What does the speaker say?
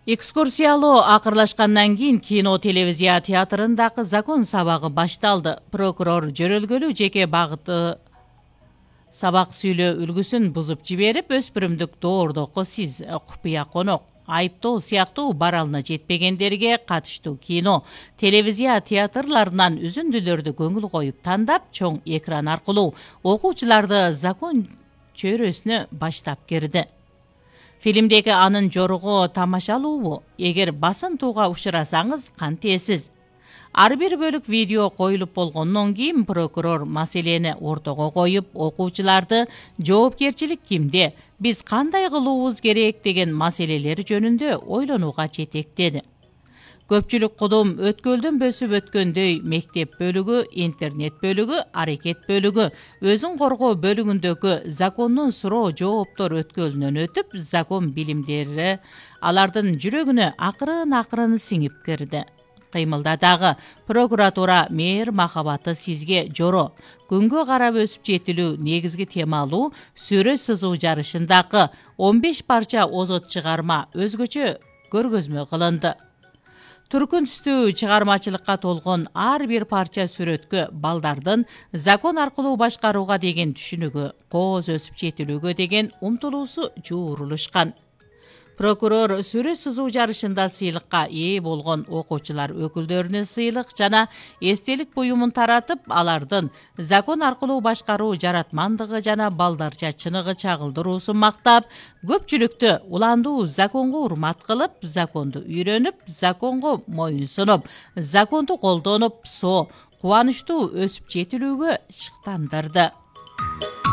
Экскурсиялоо акырлашкандан кийин кино телевизия театрындагы закон сабагы башталды. Прокурор жөрөлгөлүү жеке багыты сабак сүйлөө үлгүсүн бузуп жиберип, өспүрүмдүк доордокко сиз купуя конок, айыптоо сыяктуу баралына жетпегендерге катыштуу кино телевизия театрларынан үзүндүлөрдү көңүл коюп тандап, чоң экран аркылуу окуучуларды закон чөйрөсүнө баштап кирди. Фильмдеги анын жоругу тамашалуубу? Эгер басынтууга учурасаңыз кантесиз? Ар бир бөлүк видео коюлуп болгондон кийин прокурор маселени ортого коюп, окуучуларды жоопкерчилик кимде, биз кандай кылуубуз керек деген маселелер жөнүндө ойлонууга жетектеди. Көпчүлүк кудум өткөлдөн бөсүп өткөндөй мектеп бөлүгү, интернет бөлүгү, аракет бөлүгү, өзүн коргоо бөлүгүндөгү закондун суроо жооптор өткөлүнөн өтүп, закон билимдери алардын жүрөгүнө акырын сиңип кирди. Кыймылда дагы прокуратура мээр махабаты сизге жоро. Күнгө карап өсүп жетилүү негизги темалуу сүрөт сызуу жарышындагы 15 парча озот чыгарма өзгөчө көргөзмө кылынды. Түркүн түстүү чыгармачылыкка толгон ар бир парча сүрөткө балдардын закон аркылуу башкарууга деген түшүнүгү, кооз өсүп жетилүүгө деген умтулуусу жуурулушкан. Прокурор сүрөт сызуу жарышында сыйлыкка ээ болгон окуучулар өкүлдөрүнө сыйлык жана эстелик буюмун таратып, алардын закон аркылуу башкаруу жаратмандыгы жана балдарча чыныгы чагылдыруусун мактап, көпчүлүктү уландуу законго урмат кылып, законду үйрөнүп, законго моюн сунуп, законду колдонуп, кубанычтуу өсүп жетилүүгө шыктандырды.